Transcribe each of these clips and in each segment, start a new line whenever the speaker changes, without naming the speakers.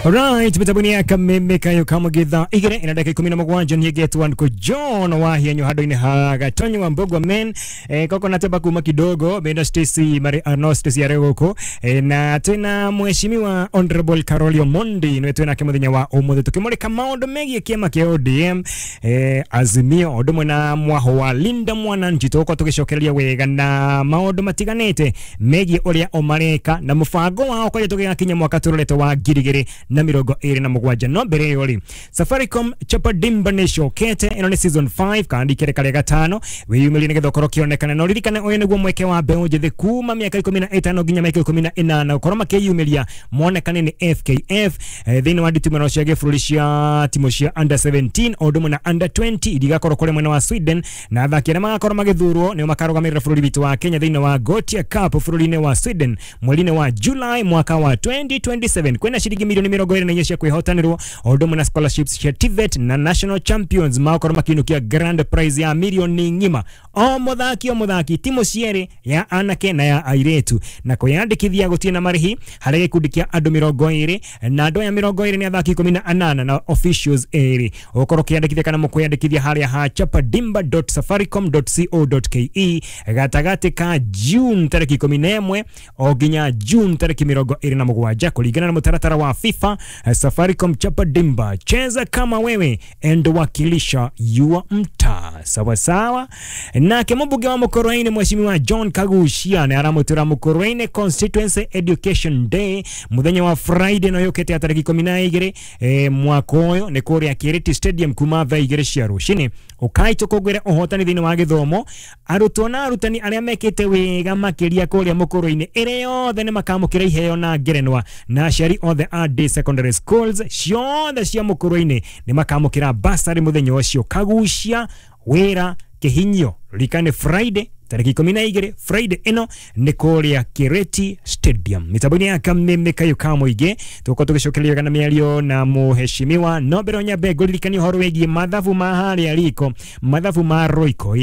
Alright, mitabuni ya kameme kayo kama githa igere ina dakika 17 nyegetwa nko John Wahianyo hado-ini ha Gatonyo wa Mbogwa men koko nateba kuma kidogo benda Stacy Mari Arno Stacy Aregoko na tena mheshimiwa Honorable Carolio Mondi niwe twina kimuthenya wa umuthi tukimurika maundu megie kiama kia ODM Azimio undu na mwaho wa Linda Mwananchi tuko tugicokereria wega na maundu matiganite megie uria omareka na mubango wao kwaja tugigakinya mwaka turorete wa 2027 no mbere yori Safaricom Chapa Dimba Nation kete ino ni season 5 kandi kere kare gatano wiyumirie nigetha ukorwo kionekana no ririkane uyu niguo mweke wa mbeũ njĩthĩ kuma miaka 15 nginya miaka 18 ukorwo makiyumiria monekane ni FKF thiini wa nditimano cia gĩbũrũri cia timu cia under 17 o ũndũ ũmwe na under 20 irigakorwo kũrĩ mwena wa Sweden na athaki arĩa magakorwo magĩthurwo nĩo makarũgamĩrĩra bũrũri witũ wa Kenya thiini wa Gothia Cup bũrũri-inĩ wa Sweden mweri-inĩ wa July mwaka wa 2027 kwĩna ciringi milioni 24 cia kwĩhotanĩrwo o ũndũ ũmwe na scholarships cia TVET na national champions magakorwo makiinũkia grand prize ya milioni ng'ima o mũthaki timu cierĩ ya anake na ya airĩtu na kwĩyandĩkithia gũtirĩ na marĩhi harĩ gĩkundi kĩa andũ 20 na andũ aya 20 nĩ athaki 18 na officials 2 ũkorwo ũkĩyandĩkithia kana mũkwĩyandĩkithia harĩa ha chapadimba.safaricom.co.ke gatagatĩ ka June tarĩki 11 o nginya June tarĩki 27 kũringana na mũtaratara wa FIFA. Safaricom Chapa Dimba, cheza kama wewe and wakilisha yua mtaa sawa sawa. Nake mbunge wa Mukurweini mheshimiwa John Kaguchia nĩ aramũtĩra Mukurweini Constituency Education Day muthenya wa Friday no yũkĩte ya tarĩki 12 mwaka ũyũ nĩ kũrĩa Kiriti Stadium kuma thaa 2 cia rũcinĩ. Ũkai tũkũngũĩre ũhotani thĩinĩ wa gĩthomo arutwo na arutani arĩa mekĩte wega makĩria kũrĩa Mukurweini ĩrĩa yothe nĩ makamũkĩra iheo na ngerenwa na aciari othe a day secondary schools ciothe cia Mukurweini nĩ makamũkĩra bursary mũthenya ũcio. Kaguchia wĩra kĩhinyio ririkane Friday tarĩki 12 Friday ĩno nĩ kũrĩa Kireti Stadium mitambo-inĩ ya kameme kayo ka mũingĩ tũgũkorwo tũgĩcokereria wega na mĩario na mũheshimiwa no mbere nyambe ngũririkanie ũhoro wĩgiĩ mathabu ma harĩa riko mathabu ma Royco.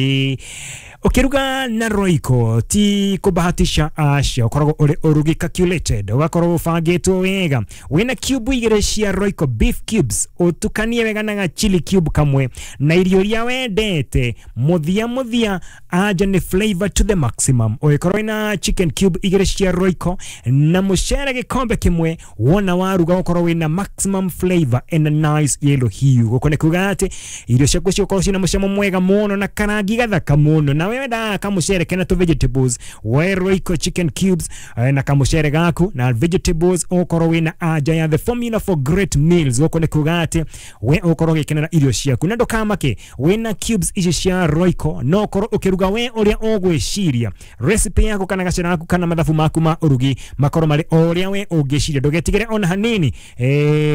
Ukiruga na Royco ti kubahatisha acia ukoragwo uri urugi calculated ugakorwo ubangitwo wega wina cube igĩrĩ cia Royco beef cubes utukanie wega na chili cube kamwe na irio iria wendete muthia muthia anja ni flavor to the maximum ugikorwo wina chicken cube igĩrĩ cia Royco na mucere gikombe kimwe wona waruga ukorwo wina maximum flavor and a nice yellow hue guko ni kuga ati irio ciaku cigũkorwo cina mucamo mwega muno na karangi gathaka muno na wenda kamucere kena tu vegetables we Royco chicken cubes na kamucere gaku na vegetables ukorwo wina aja ya the formula for great meals guko ni kuga ati we ukorwo gikenera irio ciaku na ndukamake wina cubes ici cia Royco no ukorwo ukiruga we uria ugwiciria recipe yaku kana gacera gaku kana mathabu maku ma urugi makorwo mari uria we ungiciria ndugetigire ona hanini.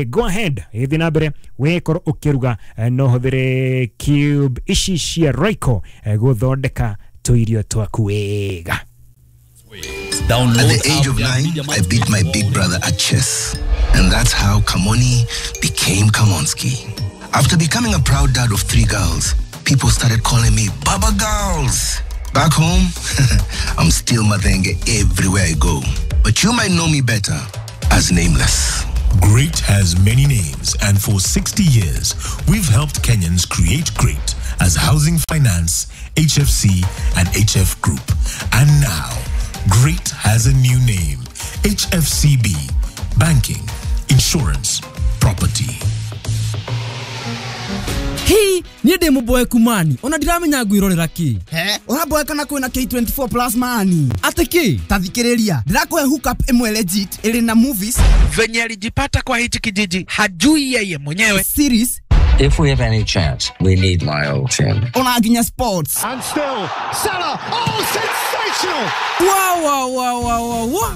Go ahead ithi na mbere we korwo ukiruga no huthire cube ici cia Royco guthondeka tuirio twaku wega.
At the age of 9, I beat my big brother at chess. And that's how Kamoni became Kamonski. After becoming a proud dad of 3 girls, people started calling me Baba Girls. Back home, I'm still Mathenge everywhere I go. But you might know me better as Nameless.
Great has many names, and for 60 years, we've helped Kenyans create great as Housing Finance, HFC, and HF Group. And now, Great has a new name, HFCB, Banking, Insurance, Property.
Hii niĩ ndĩ mũboeku mani ona ndiramenya ngwĩrorera kĩ.
He ũraboeka na kwĩna K24 plus mani
atĩ kĩ?
Ta thikĩrĩria ndĩrakũhe hookup ĩmwe legit ĩrĩ na movies
venye alijipata kwa hichi kijiji hajui yeye mwenyewe
series.
If we have any chance, we need my old team.
Ona nginya sports.
And still, Salah, oh, sensational!
Wow, wow, wow, wow, wow.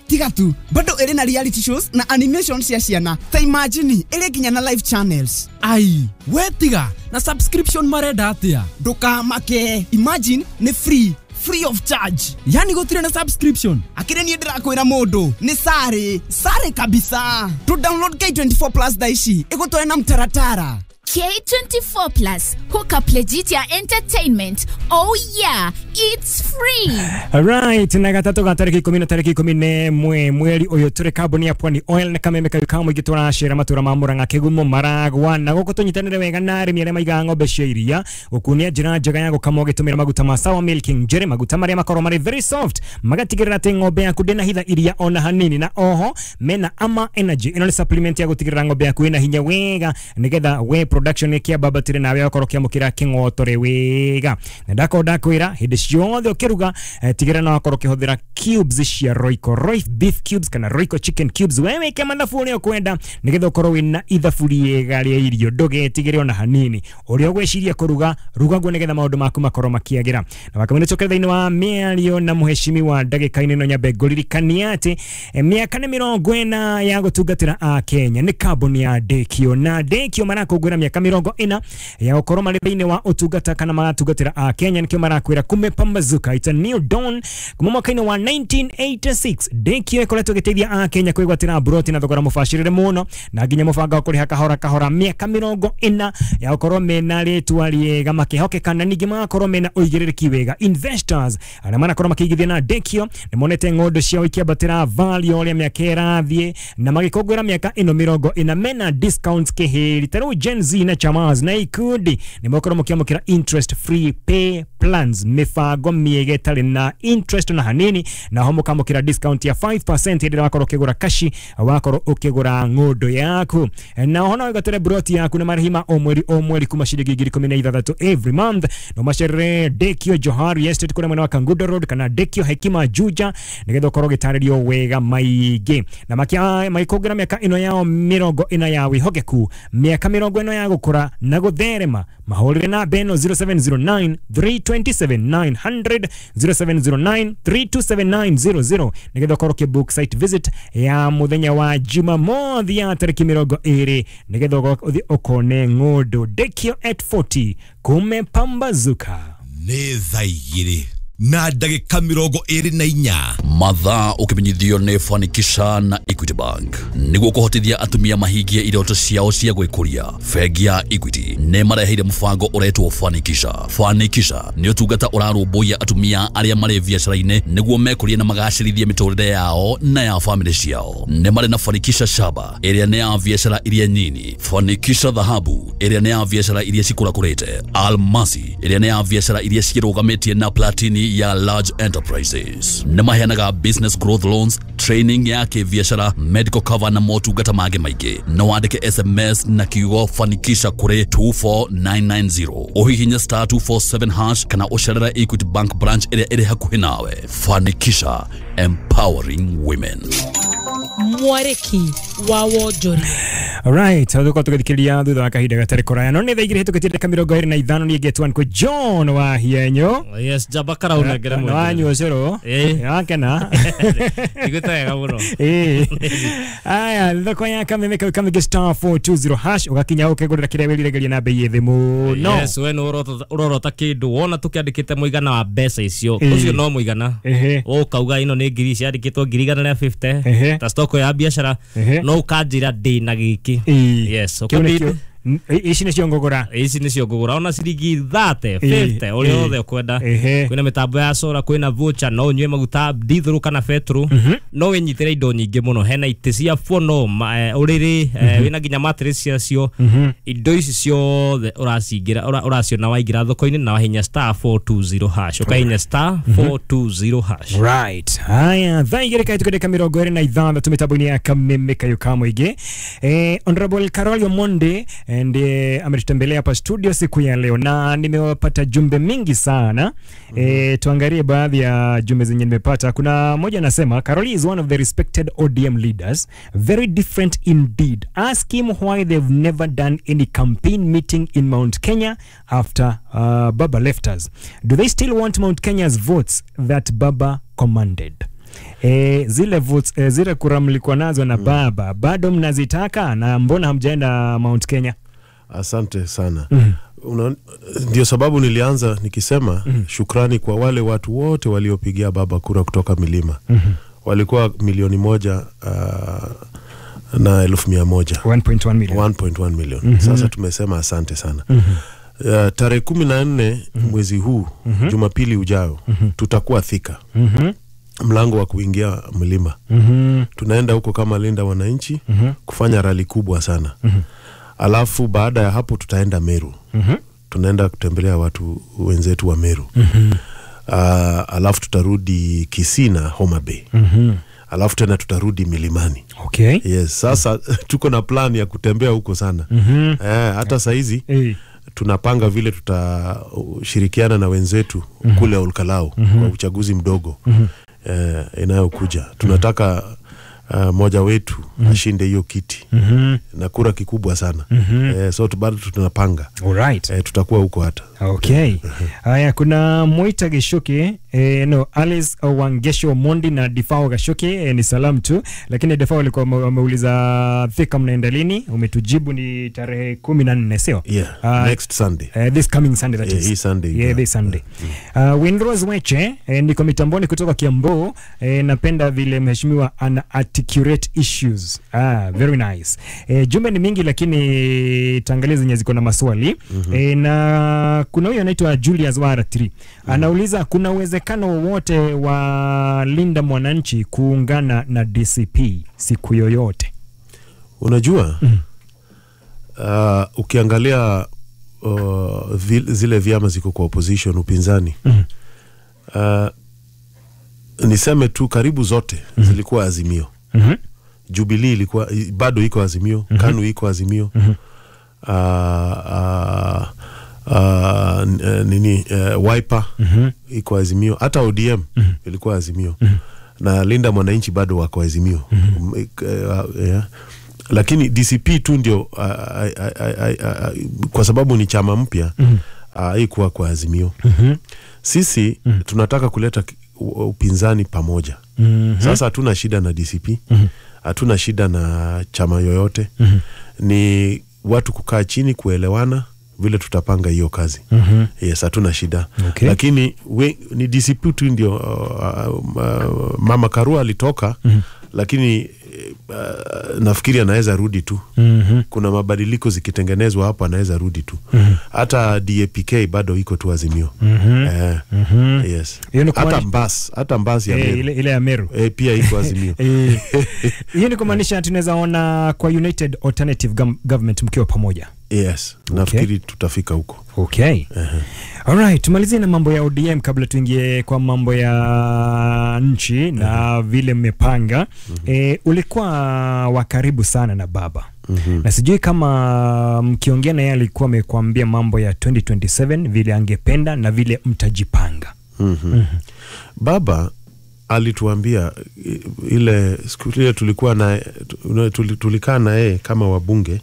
Tiga tu. Bado ĩrĩ na reality shows na animation cia ciana. Ta imagine, ĩrĩ nginya na live channels.
Ai, we tiga, na subscription marenda atia?
Ndũkamake. Imagine, nĩ free. Free of charge.
Yani gũtirĩ na subscription.
Akĩrĩ niĩ ndĩrakwĩra mũndũ nĩ sare sare kabisa. To download K24 plus thaa ici ĩgũtware na mtaratara.
K24 Plus, hook up legit ya entertainment. Oh yeah, it's free.
Alright, na gatatũ ga tarĩki 10 na tarĩki 11 mweri ũyũ tũrĩ kambuni ya Pwani Oil na kameme kayu ka mũingĩ tũracera matũra ma Murang'a, Kĩgumo, Maragwa na gũkũ tũnyitanĩre wega na arĩmi arĩa maigaga ng'ombe cia iria gũkunia njĩra njega ya gũkama ũgĩtũmĩra maguta ma Sour Milking Njere, maguta marĩa makorwo marĩ very soft magatigĩrĩra atĩ ng'ombe yaku ndĩnahitha iria ona hanini, na oho mena Ama Energy, ĩno nĩ supplement ya gũtigĩrĩra ng'ombe yaku ĩna hinya wega nĩgetha we production ĩkĩambatĩre nawe ũkorwo ũkĩamũkĩra kĩng'otore wega. Na ndakorwo ndakwĩra hĩndĩ ciothe ũkĩruga tigĩrĩra no wakorwo ũkĩhũthĩra cubes cia Royco, Royco beef cubes kana Royco chicken cubes, wewe wĩke mathabu ũrĩa ũkwenda nĩgetha ũkorwo wĩna ithabu rĩega rĩa irio, ndũgetigĩre ona hanini. Ũrĩa ũgwĩciria kũruga ruga guo nĩgetha maũndũ maku makorwo makĩagĩra. Na wakamene cokere thĩinĩ wa mĩario na mũheshimiwa ndagĩka-inĩ ĩno nyambe ngũririkanie atĩ mĩaka nĩ 40 ya gũtungatĩra a Kenya nĩ kambuni ya Dekio, na Dekio marakũngũĩra mĩaka 40 ya gũkorwo marĩ thĩinĩ wa ũtungata kana maratungatĩra a Kenya, nĩkĩo marakwĩra kumepambazuka, it's a new dawn. Kuma mwaka-inĩ wa 1986 Dekio ĩkoretwo ĩgĩteithia a Kenya kwĩgwatĩra mburoti na thogora mũbacĩrĩre mũno na nginya mũbango wa kũrĩha kahora kahora, mĩaka 40 ya gũkorwo mena rĩtwa rĩega makĩhokeka na ningĩ magakorwo mena ũigĩrĩrĩki wega. Investors arĩa marakorwo makĩigithia na Dekio nĩ monete ng'ondo ciao ikĩambatĩra value ũrĩa mĩaka ĩrathiĩ, na magĩkũngũĩra mĩaka ĩno 40 mena discounts kĩhĩri. Ta rĩu Gen Z na chamas na ikundi nĩ mũkorwo mũkĩamũkĩra interest free pay plans, mĩbango mĩega ĩtarĩ na interest na hanini, na ho mũkamũkĩra discount ya 5% hĩndĩ ĩrĩa wakorwo ũkĩgũra kashi, wakorwo ũkĩgũra ng'ondo yaku. Na ho no ũgatũre broti yaku na marĩhi ma o mweri kuma ciringi 16,000 every month. No macerere Dekio Johari Estate kũrĩa mwena wa Kangundo Road kana Dekio Hekima Juja nĩgetha ũkorwo ũgĩtarĩrio wega maingĩ. Na magĩkũngũĩra mĩaka ĩno yao 40 ya wĩhokeku, mĩaka 40 ya gũkũra na gũtherema, mahũrĩre namba ĩno 0709 327 900 0709 327 900 nĩgetha ũkorwo ũkĩbook site visit ya mũthenya wa Jumamothi ya tarĩki 20 nĩgetha ũthiĩ ũkone ng'ũndũ. Dekio at 40 kumepambazuka.
Nĩ thaa igĩrĩ na ndagĩka 24
mathaa ũkĩmenyithio nĩ Fanikisha na Equity Bank nĩguo kũhotithia atumia mahingie iroto ciao cia gwĩkũria. Bengi ya Equity nĩ mareheire mũbango ũretwo Fanikisha. Fanikisha nĩ ũtungata ũrarũmbũiya atumia arĩa marĩ biacara-inĩ nĩguo mekũrie na magacĩrithie mĩtũrĩre yao na ya famĩlĩ ciao. Nĩ marĩ na Fanikisha Shaba ĩrĩa nĩ ya biacara iria nyini, Fanikisha Dhahabu ĩrĩa nĩ ya biacara iria cikũrakũrĩte, Almasi ĩrĩa nĩ ya biacara iria cirũgamĩtie na Platini ya large enterprises. Nĩ maheanaga business growth loans, training ya kĩbiacara, medical cover na motungata mangĩ maingĩ. No wandĩke SMS na kiugo Fanikisha kũrĩ 24990, ũhihinye star 247 hash kana ũcerere Equity Bank branch ĩrĩa ĩrĩ hakuhĩ nawe. Fanikisha, empowering women.
Mwarĩki wa wonjoria.
Alright, thutha tũgĩthikĩrĩria thutha wa kahinda gatarĩ kũraya, no nĩ thaa igĩrĩ hĩtũkĩtie ndagĩka 25 niĩ ngetwo Uncle John wa Hienyo.
Yes, njamba karaunengere
mwene. Wanyua ũcũrũ. Wakena.
Njiguĩte wega mũno.
Aya, thoko ya kameme kau kamege star 420 hash ũgakinya ũkĩgũrĩra kĩrĩa wĩriragĩria na bei ĩthĩ mũno.
Yes, we nĩ ũrorota kĩndũ wona tũkĩandĩkĩte mũigana wa mbeca icio, ũcio no mũigana. Ũkauga ĩno nĩ ngiri ciandĩkĩtwo 150 ta stock ya biacara, no ũkanjĩra ndĩ na gĩkĩ. Yes, ũkabidi
ici nĩcio ngũgũra,
ici nĩcio ngũgũra ona ciringi 30 50 ũrĩa wothe ũkwenda. Kwĩna mĩtambo ya solar, kwĩna voucher, no ũnyue maguta diesel kana petrol, no wĩnyitĩre indo nyingĩ mũno. Hena itĩ cia fono, ũrĩrĩ, wĩna nginya mattress ciacio. Indo ici ciothe ũracingĩra ũraciona waingĩra thoko-inĩ na wahinya star 420 hash, ũkahinya star 420 hash.
Right, haya thaa igĩrĩ kahĩtũka ndagĩka 26 mĩtambo-inĩ ya kameme kayo ka mũingĩ. Honorable Carol Omondi ndiye ametutembelea hapa studio siku ya leo na nimewapata jumbe mingi sana. Tuangalie baadhi ya jumbe zenye nimepata. Kuna moja anasema Caroli is one of the respected ODM leaders, very different indeed. Ask him why they've never done any campaign meeting in Mount Kenya after Baba left us. Do they still want Mount Kenya's votes that Baba commanded? Zile votes, zile kura mlikuwa nazo na Baba bado mnazitaka na mbona hamjaenda Mount Kenya?
Asante sana. Ndio sababu nilianza nikisema shukrani kwa wale watu wote waliopigia Baba kura kutoka milima. Walikuwa 1,100,000 na 100,000.
1.1 million.
1.1 million. Sasa tumesema asante sana. Tarehe 14 mwezi huu, Jumapili ujao, tutakuwa Thika. Mlango wa kuingia mlima. Tunaenda huko kama Linda Wananchi kufanya rali kubwa sana. Alafu baada ya hapo tutaenda Meru. Tunaenda kutembelea watu wenzetu wa Meru. Alafu tutarudi Kisii na Homa Bay. Alafu tena tutarudi milimani.
Okay.
Yes, sasa tuko na plan ya kutembea huko sana. Hata saizi tunapanga vile tutashirikiana na wenzetu kule Olkalau kwa uchaguzi mdogo inayokuja. Tunataka moja wetu ashinde hiyo kiti na kura kikubwa sana. So bado tunapanga.
Alright.
Tutakuwa huko hata.
Okay. Haya, kuna Moita Geshoke, no, Alice Wangesho Mondi na Difao Gashoke, ni salamu tu, lakini Difao alikuwa ameuliza Thika mnaenda lini? Umetujibu ni tarehe 14, sio?
Yeah, next Sunday.
This coming Sunday that is.
Hii Sunday.
Yeah, this Sunday. Windrose Weche, niko mitamboni kutoka Kiambu, napenda vile mheshimiwa ana articulate issues. Very nice. Jumbe ni mingi lakini tangalia zenye ziko na maswali. Na kuna huyu anaitwa Julius Waratri. Anauliza kuna uwezekano wowote wa Linda Mwananchi kuungana na DCP siku yoyote?
Unajua? Ukiangalia zile vyama ziko kwa opposition, upinzani. Niseme tu karibu zote zilikuwa Azimio. Jubilee ilikuwa bado iko Azimio, KANU iko Azimio. Wiper iko Azimio, hata ODM ilikuwa Azimio. Na Linda Mwananchi bado wako Azimio. Yeah. Lakini DCP tu ndio kwa sababu ni chama mpya haikuwa kwa Azimio. Sisi tunataka kuleta upinzani pamoja. Sasa hatuna shida na DCP, hatuna shida na chama yoyote. Ni watu kukaa chini kuelewana vile tutapanga hiyo kazi. Yes, hatuna shida.
Okay.
Lakini ni DCP tu ndio Mama Karua alitoka, lakini nafikiri anaweza rudi tu. Kuna mabadiliko zikitengenezwa hapo anaweza rudi tu. Hata DAPK bado iko tu Azimio. Yes. Hata Mbas ya Meru.
Ile ya Meru.
Pia iko Azimio.
Hiyo ni kumaanisha tunaweza ona kwa United Alternative Government mkiwa pamoja.
Yes, nafikiri tutafika huko.
Okay. Alright, tumalizie na mambo ya ODM kabla tuingie kwa mambo ya nchi na vile mmepanga. Ulikuwa wa karibu sana na baba. Na sijui kama mkiongea na yeye alikuwa amekwambia mambo ya 2027 vile angependa na vile mtajipanga.
Baba alituambia ile siku ile tulikuwa na tulikaa na yeye kama wabunge.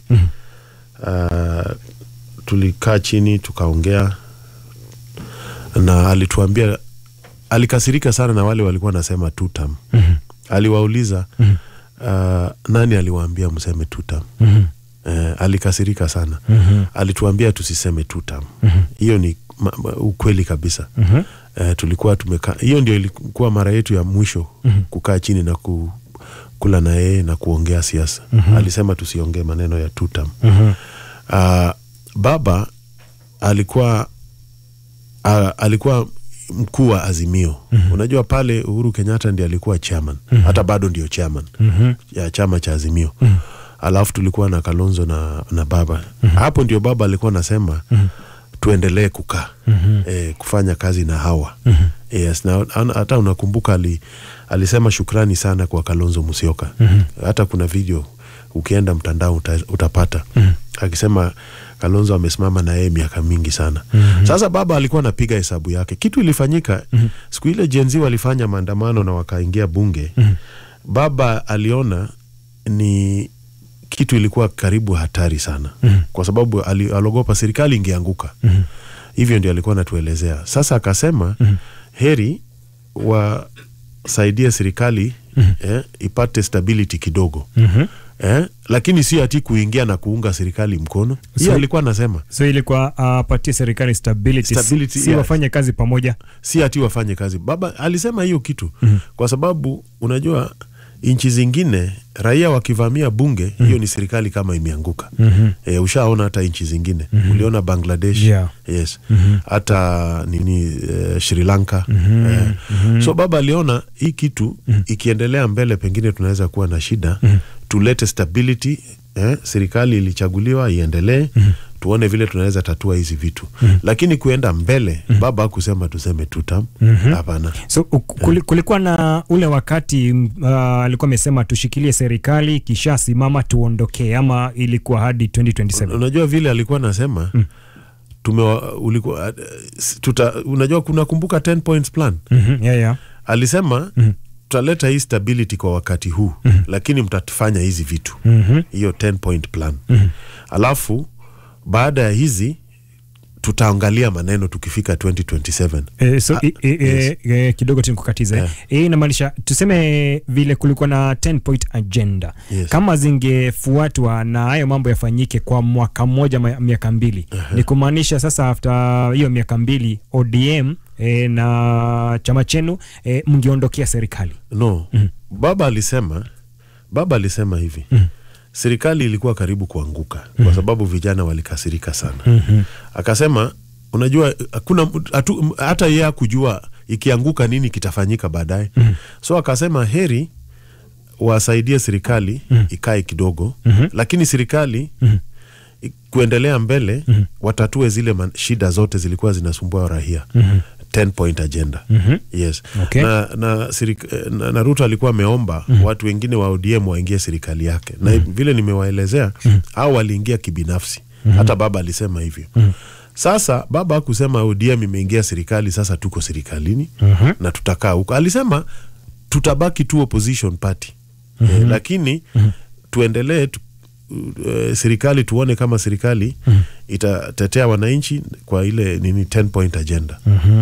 Tulikaa chini tukaongea na alituambia, alikasirika sana na wale walikuwa nasema two term. Aliwauliza nani aliwaambia mseme two term? Alikasirika sana. Alituambia tusiseme two term. Hiyo ni ukweli kabisa. Tulikuwa tumekaa, hiyo ndio ilikuwa mara yetu ya mwisho kukaa chini na kula na yeye na kuongea siasa. Alisema tusiongee maneno ya two term. Baba alikuwa mkuu wa Azimio. Unajua pale Uhuru Kenyatta ndiye alikuwa chairman. Hata bado ndio chairman ya chama cha Azimio. Alafu tulikuwa na Kalonzo na baba. Hapo ndio baba alikuwa anasema tuendelee kukaa, kufanya kazi na hawa. Yes, na hata unakumbuka alisema shukrani sana kwa Kalonzo Musyoka. Hata kuna video ukienda mtandao utapata. Akisema Kalonzo amesimama na yeye miaka mingi sana. Sasa baba alikuwa anapiga hesabu yake. Kitu ilifanyika siku ile Gen Z walifanya maandamano na wakaingia bunge. Baba aliona ni kitu ilikuwa karibu hatari sana. Kwa sababu aliogopa serikali ingeanguka. Hivyo ndio alikuwa anatuelezea. Sasa akasema heri wasaidie serikali ipate stability kidogo. Lakini si ati kuingia na kuunga serikali mkono. Hiyo alikuwa anasema.
So ilikuwa apatie serikali stability, si wafanye kazi pamoja.
Si ati wafanye kazi. Baba alisema hiyo kitu kwa sababu unajua Nchi zingine raia wakivamia bunge, hiyo ni serikali kama imeanguka. Ushaona hata nchi zingine. Uliona Bangladesh. Yes. Hata nini, Sri Lanka. So baba aliona hii kitu ikiendelea mbele pengine tunaweza kuwa na shida. Tulete stability, serikali ilichaguliwa iendelee. Tuone vile tunaweza tatua hizi vitu. Lakini kuenda mbele, baba hakusema tuseme two term. Hapana.
So kulikuwa na ule wakati alikuwa amesema tushikilie serikali kisha simama tuondokee, ama ilikuwa hadi 2027?
Unajua vile alikuwa anasema, unajua kuna kumbuka 10 points plan. Alisema tutaleta hii stability kwa wakati huu, lakini mtatufanya hizi vitu. Hiyo 10 point plan. Alafu baada ya hizi tutaangalia maneno tukifika 2027.
So kidogo tu nikukatize. Inamaanisha tuseme vile kulikuwa na 10 point agenda. Kama zingefuatwa na hayo mambo yafanyike kwa mwaka mmoja, miaka mbili. Ni kumaanisha sasa after hiyo miaka mbili ODM na chama chenu mngeondokea serikali.
No. Baba alisema hivi. Serikali ilikuwa karibu kuanguka kwa sababu vijana walikasirika sana. Akasema unajua hakuna hata yeye kujua ikianguka nini kitafanyika baadaye. So akasema heri wasaidie serikali ikae kidogo, lakini serikali kuendelea mbele watatue zile shida zote zilikuwa zinasumbua raia. 10 point agenda. Yes.
Okay.
Na Ruto alikuwa ameomba watu wengine wa ODM waingie serikali yake. Na vile nimewaelezea, hao waliingia kibinafsi. Hata baba alisema hivyo. Sasa baba hakusema ODM imeingia serikali, sasa tuko serikalini na tutakaa huko. Alisema tutabaki tu opposition party. Lakini tuendelee serikali, tuone kama serikali itatetea wananchi kwa ile nini 10 point agenda.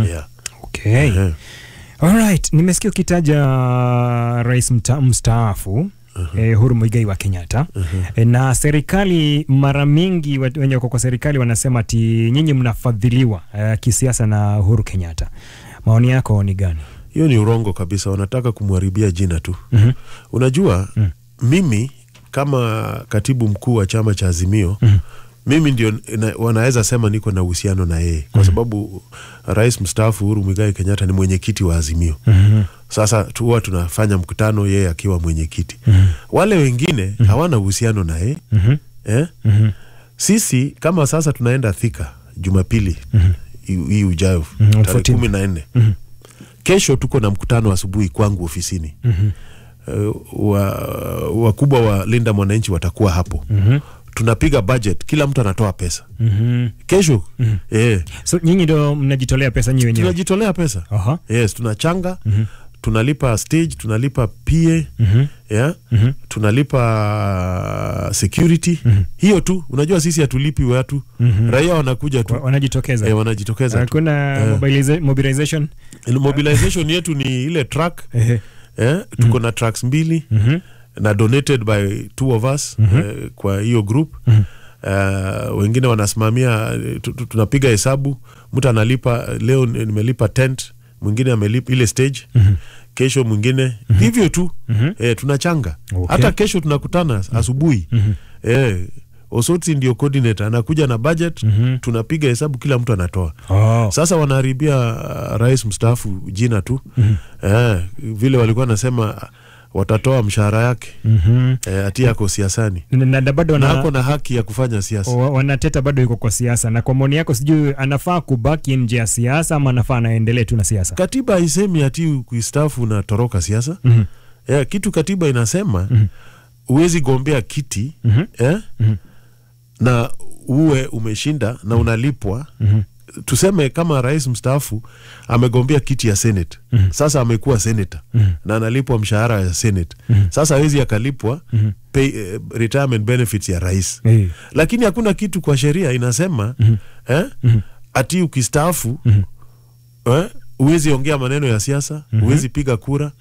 Yeah.
Okay. All right, nimesikia ukitaja rais mstaafu Uhuru Muigai wa Kenyatta. Na serikali mara mingi wenye wako kwa serikali wanasema ati nyinyi mnafadhiliwa kisiasa na Uhuru Kenyatta. Maoni yako ni gani?
Hiyo ni urongo kabisa, wanataka kumharibia jina tu. Unajua mimi kama katibu mkuu wa chama cha Azimio, mimi ndio wanaweza sema niko na uhusiano na yeye kwa sababu rais mstaafu Uhuru Muigai Kenyatta ni mwenyekiti wa Azimio. Sasa huwa tunafanya mkutano yeye akiwa mwenyekiti. Wale wengine hawana uhusiano na yeye. Sisi kama sasa tunaenda Thika Jumapili hii ujayo tarehe 14. Kesho tuko na mkutano asubuhi kwangu ofisini. Wakubwa wa Linda Mwananchi watakuwa hapo. Tunapiga budget, kila mtu anatoa pesa. Kesho.
So nyinyi ndio mnajitolea pesa nyinyi wenyewe?
Tunajitolea pesa. Yes, tunachanga, tunalipa stage, tunalipa PA, tunalipa security. Hiyo tu, unajua sisi hatulipi watu. Raia wanakuja tu.
Wanajitokeza.
Wanajitokeza.
Hakuna mobilization.
Mobilization yetu ni ile truck. Tuko na trucks 2 na donated by 2 of us kwa hiyo group. Wengine wanasimamia, tunapiga hesabu, mtu analipa leo nimelipa tent, mwingine amelipa ile stage, kesho mwingine hivyo tu. Tunachanga. Hata kesho tunakutana asubuhi. Osotsi ndio coordinator, anakuja na budget, tunapiga hesabu, kila mtu anatoa. Sasa wanaharibia rais mstaafu jina tu. Vile walikuwa nasema watatoa mshahara yake. Ati yako siasani.
Na bado
na ako na haki ya kufanya siasa.
Wanateta bado yuko kwa siasa. Na kwa maoni yako sijui anafaa kubaki nje ya siasa ama anafaa anaendelee tu na siasa?
Katiba haisemi ati kuistaafu na toroka siasa. Kitu katiba inasema huwezi gombea kiti na uwe umeshinda na unalipwa. Tuseme kama rais mstaafu amegombea kiti ya Senate. Sasa amekuwa senator na analipwa mshahara ya Senate. Sasa hawezi akalipwa pay, retirement benefits ya rais. Lakini hakuna kitu kwa sheria inasema ati ukistaafu huwezi ongea maneno ya siasa, huwezi piga kura.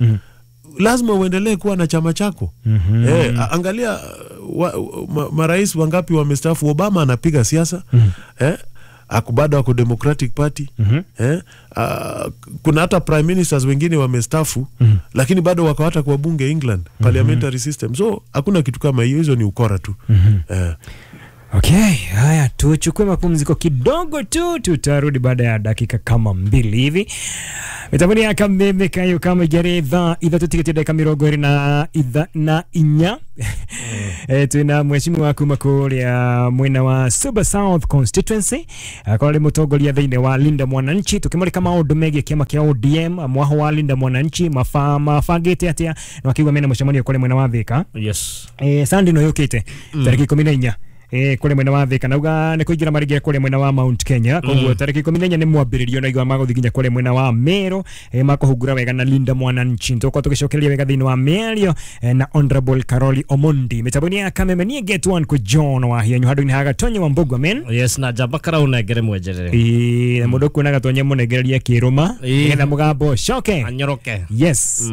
Lazima uendelee kuwa na chama chako. Angalia marais wangapi wamestaafu. Obama anapiga siasa. Ako bado ako Democratic Party. Kuna hata prime ministers wengine wamestaafu, lakini bado wako hata kwa bunge England, parliamentary system. So hakuna kitu kama hiyo, hizo ni ukora tu.
Okay, haya tuchukue mapumziko kidogo tu, tutarudi baada ya dakika kama 2 hivi. Mitambo ya Kameme kayo kama geretha 3 tiketi dakika 24. Tuna mheshimiwa kuma kuria mwena wa Suba South Constituency akore mutongoria thiini wa Linda Mwananchi, tukimurika maundu megie kiama kia ODM mwaho wa Linda Mwananchi mabangite atia na wakiuga mena mucemanio kuri mwena wa Thika.
Yes.
Sunday no yukite tariki 14 kuri mwena wa Thika nauga ni kuingira maringira kuri mwena wa Mount Kenya, koguo tariki 14 ni mwambiririo na igwa maguthi nginya kuri mwena wa Meru, makuhungura wega na Linda Mwananchi. Tukorwo tugicokereria wega thiini wa mĩario na Honorable Caroli Omondi. Mitambo-inĩ ya Kameme niĩ Get One kwa John wa Hianyu handũ-inĩ ha Gatonye wa Mbugua men.
Yes, na njamba karaunengere mwenjerere.
Na mũndũ kuona Gatonye mũnengereria kĩrũma nĩgetha mũgambo ũcoke
anyoroke.
Yes.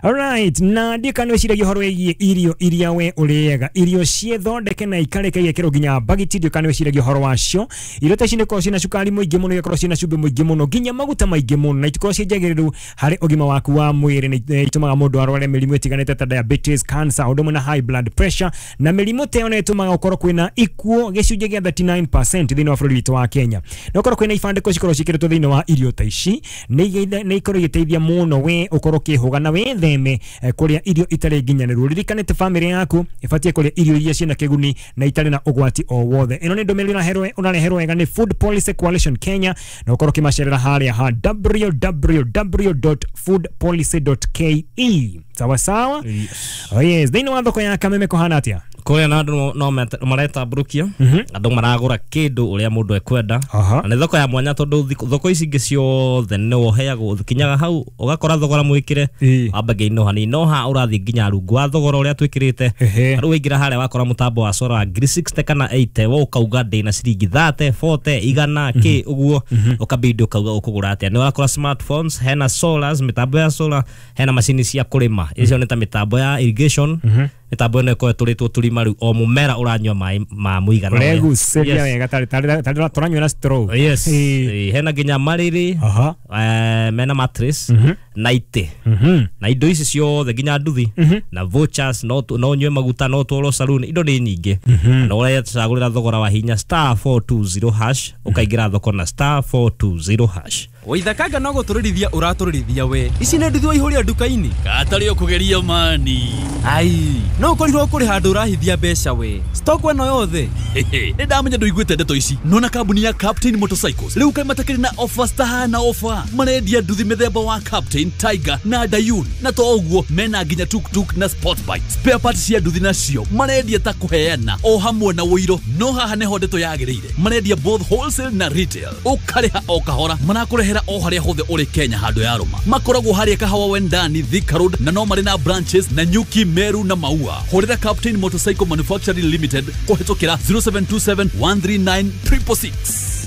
Alright, na ndikana wĩciragia ũhoro wĩgiĩ irio iria we ũrĩaga, irio ciĩthondeke na ikarĩke igekĩrwo nginya bagiti, ndikana wĩciragia ũhoro wacio. Irio ta ici nĩikoragwo ciĩna cukari mũingĩ mũno, igakorwo ciĩna cumbĩ mũingĩ mũno, nginya maguta maingĩ mũno, na itikoragwo ciĩ njagĩrĩru harĩ ũgima waku wa mwĩrĩ. Nĩ itũmaga mũndũ arware mĩrimũ ĩtiganĩte ta diabetes, cancer, ũndũ ũmwe na high blood pressure, na mĩrimũ ta ĩyo nĩ ĩtũmaga ũkorwo kwĩna ikuũ gĩcunjĩ gĩa 39% thĩinĩ wa bũrũri witũ wa Kenya. Na ũkorwo kwĩna ibandĩko cikoragwo ciĩkĩrĩtwo thĩinĩ wa irio ta ici, nĩ ikorwo igĩteithia mũno we ũkorwo ũkĩhũga na wĩtheme kũrĩa irio itarĩ nginyanĩru. Ririkana atĩ bamĩrĩ yaku ĩbatiĩ kũrĩa irio iria ciĩna kĩguni na itarĩ na ũgwati o wothe. Ĩno nĩ ndũmĩrĩri ũrareherwo wega nĩ Food Policy Coalition Kenya, na ũkorwo ũkĩmacerera harĩa ha www.foodpolicy.ke. Sawa sawa?
Yes.
Oh yes, thĩinĩ wa thoko ya Kameme kũhana atĩa?
Kũrĩa na andũ no maretambũrũkia, andũ maragũra kĩndũ ũrĩa mũndũ ekwenda. Na nĩ thoko ya mwanya tondũ thoko ici ingĩ ciothe nĩ woheagwo, kinyaga hau ũgakora thogora mwĩkĩre wambagia ino hanini, no ha ũrathiĩ nginya rungu wa thogora ũrĩa twĩkĩrĩte. Rĩu waingĩra harĩa wakora mũtambo wa sora 60 kana 80, we ũkauga ndĩna ciringi 30, 40, igana kĩ ũguo, ũkabidi ũkauga ũkũgũra atĩa. Nĩ ũrakora smartphones, hena solars, mĩtambo ya solar, hena macini cia kũrĩma, icio nĩ ta mĩtambo ya irrigation, mĩtambo ĩno ĩkoragwo ĩtũrĩtwo tũrima rĩu o mũmera ũranyua maĩ ma mũigana ũrĩa.
Ũregucĩria wega tarĩ tũranyua na straw.
Yes. Hena nginya marĩrĩ, mena mattress na itĩ na indo ici ciothe nginya nduthi na vouchers, no ũnyue maguta, no ũtwarwo saloon, indo nĩ nyingĩ. Na ũrecagũrĩra thogora wa hinya *420# ũkaingĩra thoko na *420#.
Waithakanga no gũtũrĩrithia ũratũrĩrithia we. Ici nĩ nduthi waihũria nduka-inĩ.
Gatarĩ ũkũgeria mani.
Ai, no ũkorirwo kũrĩ handũ ũrahithia mbeca we. Stock ĩno yothe.
Nĩ ndamenya ndũiguĩte ndeto ici. Nona kambuni ya Captain Motorcycles rĩu kaĩ matakĩrĩ na offers tahana offer. Marendia nduthi mĩthemba wa Captain, Tiger na Dayun, na to ũguo mena nginya tuktuk na sport bike. Spare parts cia nduthi nacio marendia ta kũheana o hamwe na ũiro. No haha nĩho ndeto yagĩrĩire. Marendia both wholesale na retail. Ũkarĩha o kahora, marakũrehera o harĩa hothe ũrĩ Kenya handũ ya rũma. Makoragwo harĩa Kahawa Wendani, Thika Road, na no marĩ na branches na Nyuki, Meru na Maua. Hũrĩra Captain Motorcycle Manufacturing Limited kũhĩtũkĩra 0727 139 666.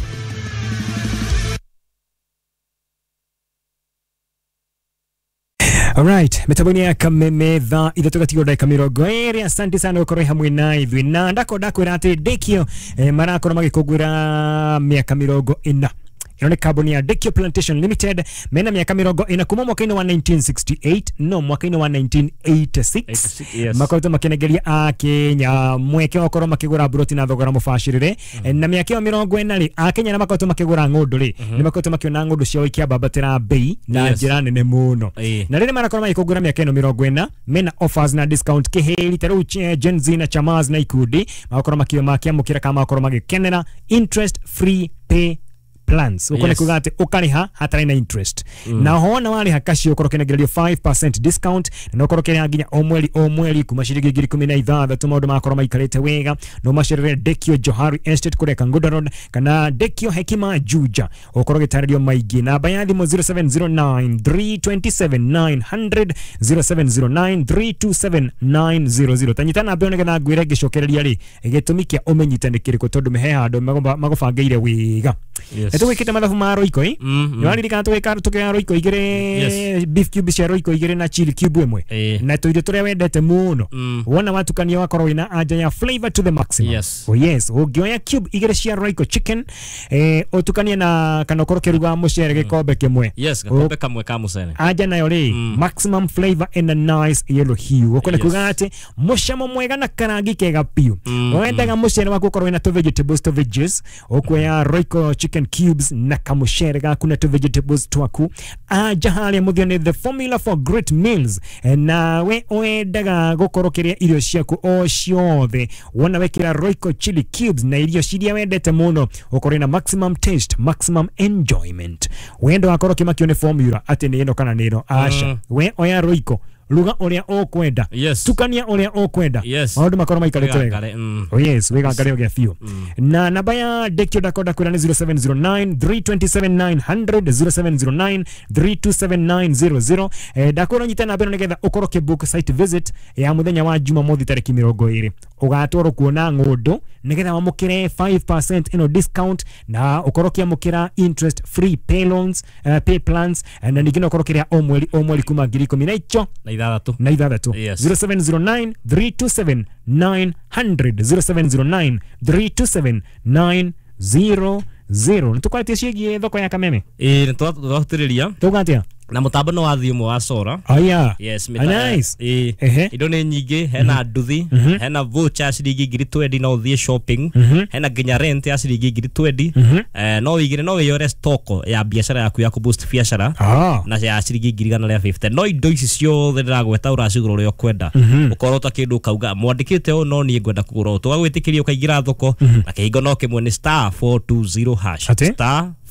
Alright, mitambo-inĩ ya Kameme thaa 3 gatigwo ndagĩka 20. Asante sana gũkorwo hamwe na ithuĩ, na ndakorwo ndakwĩra atĩ Ndĩkio marakorwo magĩkũngũĩra mĩaka 40. Ĩno nĩ kambuni ya Dekio Plantation Limited, mena miaka 40 kuma mwaka-inĩ wa 1968 no mwaka-inĩ wa 1986.
Yes.
Makoretwo makĩnengeria Akenya mweke wa gũkorwo makĩgũra mburoti na thogora mũbacĩrĩre. Na mĩaka ĩyo 40 rĩ, Akenya nĩ makoretwo makĩgũra ng'ũndũ rĩ, nĩ makoretwo makĩona ng'ũndũ ciao ikĩambambatĩra bei na njĩra nene mũno. Na rĩrĩa marakorwo magĩkũngũĩra mĩaka ĩno 40, mena offers na discount kĩhĩri ta rĩu Gen Z na chamas na ikundi magakorwo makĩamũkĩra kana magakorwo magĩkenera interest free pay plans. Ukone kuga ati ukariha hatarĩ na interest. Na hona wariha kacio ukorwo ũkĩnengererio 5% discount, na ukorwo ũkĩrĩha nginya o mweri kuma ciringi 16,000. Maũndũ magakorwo maikarĩte wega. No macerere Dekio Johari Estate kũrĩa Kangundo Road kana Dekio Hekima Juja, ukorwo ũgĩtarĩrio maingĩ. Namba ya thimũ 0709 327 900, 0709 327 900. Tanyita namba ĩyo nĩgetha ngwĩre ngĩcokereria rĩ gĩtũmi kĩa ũmenyite nĩ kĩrĩkũ, tondũ mehe handũ magũbangĩire wega.
Yes.
Tugwikite mathabu ma Royco i nĩwaririkana tũkĩoya Royco igĩrĩ, beef cube cia Royco igĩrĩ na chili cube ĩmwe na tũirio tũrĩa wendete mũno, wona watukania wakorwo wĩna anja ya flavor to the maximum.
Yes.
Oh yes, ũngĩoya cube igĩrĩ cia Royco chicken, ũtukanie na kana ũkorwo ũkĩruga mũcere gĩkombe kĩmwe.
Yes, gakombe kamwe ka mũcere.
Anja nayo rĩ, maximum flavor and a nice yellow hue. Ũkona kuga atĩ mũcamo mwega na karangi kega biũ. Wendaga mũcere waku ũkorwo wĩna tũ vegetables, tũ veggies, ũkuoya Royco chicken cubes na kamucere gaku na tũ vegetables twaku. Anja harĩa mũthia nĩ the formula for great meals. Nawe wendaga gũkorwo ũkĩrĩa irio ciaku o ciothe, wona wekĩra Royco chili cubes na irio ciria wendete mũno, ũkorwo na maximum taste, maximum enjoyment. Wendo wakorwo ũkĩmakio nĩ formula atĩ nĩ ĩno kana nĩ ĩno, aca, we oya Royco, ruga ũrĩa ũkwenda, tukania ũrĩa ũkwenda, maũndũ makorwo maikarĩte wega. Oh yes, wĩgangare ũgĩa biũ. Na namba ya Dekio Dakoda kwĩra nĩ 0709 327 900, 0709 327 900. Ndakwĩra ũnyite namba ĩno nĩgetha ũkorwo ũkĩbook site visit ya mũthenya wa Jumamothi tarĩki 20, ũgatwarwo kuona ng'ũndũ nĩgetha wamũkĩre 5% ĩno discount na ũkorwo ũkĩamũkĩra interest free pay loans, pay plans, na ningĩ no ũkorwo ũkĩrĩha o mweri o mweri kuma ngiri ikũmi na icho
na ithathatũ
na ithathatũ. 0709 327 900, 0709 327 900. Nĩtũkwarĩtie ciĩgiĩ thoko ya Kameme.
Ĩĩ, nĩtwahutĩrĩria.
Tuga atĩa?
Na mũtambo nĩ wa thiĩ ũmwe wa Sora.
Oh yeah.
Yes,
nice.
Ĩĩ. Indo nĩ nyingĩ, hena nduthi, hena voucher ya ciringi ngiri 20 no ũthiĩ shopping, hena nginya rent ya ciringi ngiri 20. No wĩigĩre, no wĩyore stock ya biacara yaku ya kũboost biacara na ya ciringi ngiri igana rĩa 50. No indo ici ciothe ndĩragweta ũracigũra ũrĩa ũkwenda. Ũkorwo ta kĩndũ ũkauga mwandĩkĩte ũũ no niĩ ngwenda kũgũra ũũ, tũgagwĩtĩkĩria ũkaingĩra thoko na kĩhingo no kĩmwe nĩ *420#.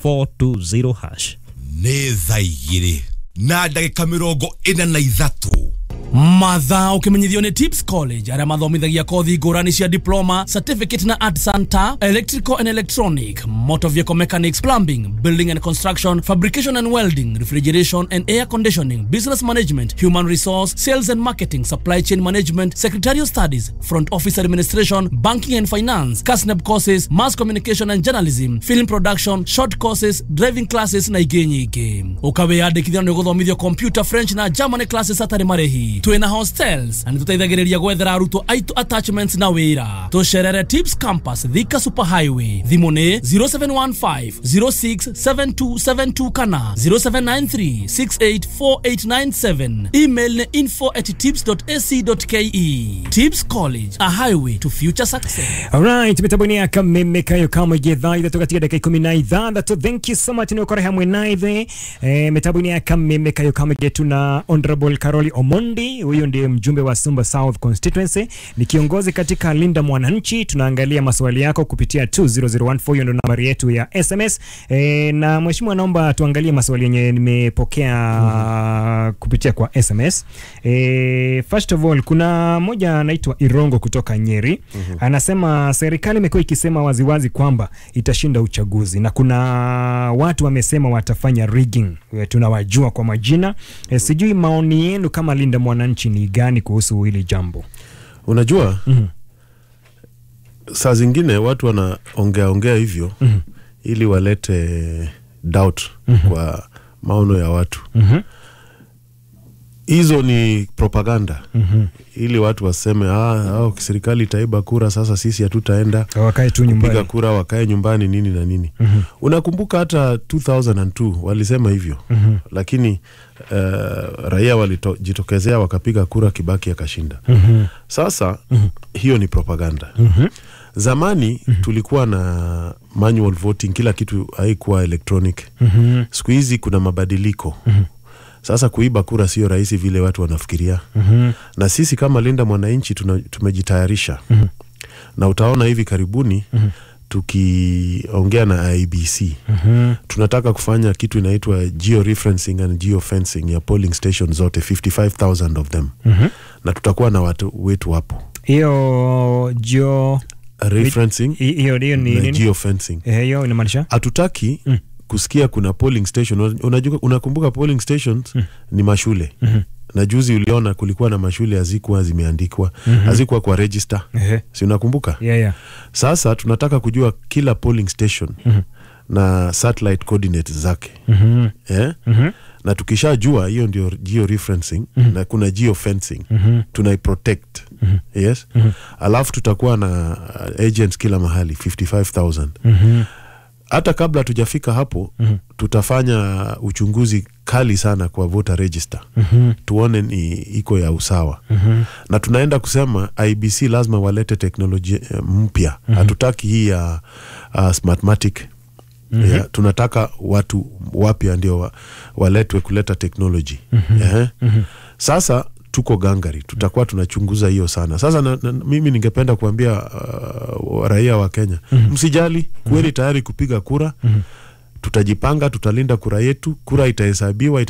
*420#.
Nĩ thaa 2 na ndagĩka 43.
Mathaa ũkĩmenyithio nĩ Tips College arĩa mathomithagia kothi ngũrani cia diploma, certificate na art center, electrical and electronic, motor vehicle mechanics, plumbing, building and construction, fabrication and welding, refrigeration and air conditioning, business management, human resource, sales and marketing, supply chain management, secretarial studies, front office administration, banking and finance, KASNEB courses, mass communication and journalism, film production, short courses, driving classes na ingĩ nyingĩ. Ũkawĩyandĩkithia nĩ ũgũthomithio computer, French na German classes hatarĩ marĩhi. Twĩna hostels na nĩtũteithagĩrĩria gwethera arutwo aitũ attachments na wĩra. Tũcerere Tips Campus, Thika Super Highway. Thimũ nĩ 0715 067272 kana 0793 684897. Email nĩ info@tips.ac.ke. Tips College, a highway to future success.
Alright, mitambo-inĩ ya Kameme kayo kamwe thaa ithatũ gatiga ndagĩka 16. Thank you so much nĩ ũkorwo hamwe na ithuĩ. Mitambo-inĩ ya Kameme kayo kamwe tuna Honorable Caroli Omondi, huyo ndiye mjumbe wa Sumba South Constituency, ni kiongozi katika Linda Mwananchi. Tunaangalia maswali yako kupitia 20014, hiyo ndio nambari yetu ya SMS. Na mheshimiwa, naomba tuangalie maswali yenye nimepokea kupitia kwa SMS. First of all, kuna moja anaitwa Irongo kutoka Nyeri. Anasema serikali imekuwa ikisema waziwazi kwamba itashinda uchaguzi na kuna watu wamesema watafanya rigging, tunawajua kwa majina. Sijui maoni yenu kama Linda Mwananchi ni gani kuhusu hili jambo?
Unajua, saa zingine watu wanaongea ongea hivyo ili walete doubt kwa maono ya watu. Hizo ni propaganda. Ili watu waseme serikali itaiba kura, sasa sisi hatutaenda
wakae tu nyumbani,
kupiga kura, wakae nyumbani nini na nini. Unakumbuka hata 2002 walisema hivyo. Lakini raia walijitokezea wakapiga kura, Kibaki akashinda. Sasa hiyo ni propaganda. Zamani tulikuwa na manual voting, kila kitu haikuwa electronic. Siku hizi kuna mabadiliko. Sasa kuiba kura sio rahisi vile watu wanafikiria. Na sisi kama Linda Mwananchi tumejitayarisha. Na utaona hivi karibuni tukiongea na IEBC. Tunataka kufanya kitu inaitwa georeferencing and geofencing ya polling station zote, 55,000 of them. Na tutakuwa na watu wetu hapo.
Hiyo geo
referencing,
hiyo ni nini?
Geofencing.
Hiyo inamaanisha
hatutaki kusikia kuna polling station. Unajua, unakumbuka polling stations ni mashule. Na juzi uliona kulikuwa na mashule hazikuwa zimeandikwa, hazikuwa kwa register. Si unakumbuka?
Yeah.
Sasa tunataka kujua kila polling station na satellite coordinates zake. Eh? Na tukishajua hiyo ndio georeferencing na kuna geofencing, tunaiprotect. Yes. Alafu tutakuwa na agents kila mahali 55,000. Hata kabla tujafika hapo, tutafanya uchunguzi kali sana kwa voter register, tuone ni iko ya usawa. Na tunaenda kusema IEBC lazima walete teknolojia mpya. Hatutaki hii ya Smartmatic. Yeah, tunataka watu wapya ndio waletwe kuleta teknoloji. Sasa tuko gangari, tutakuwa tunachunguza hiyo sana. Sasa mimi ningependa kuambia raia wa Kenya, msijali, kuweni tayari kupiga kura. Tutajipanga, tutalinda kura yetu, kura itahesabiwa.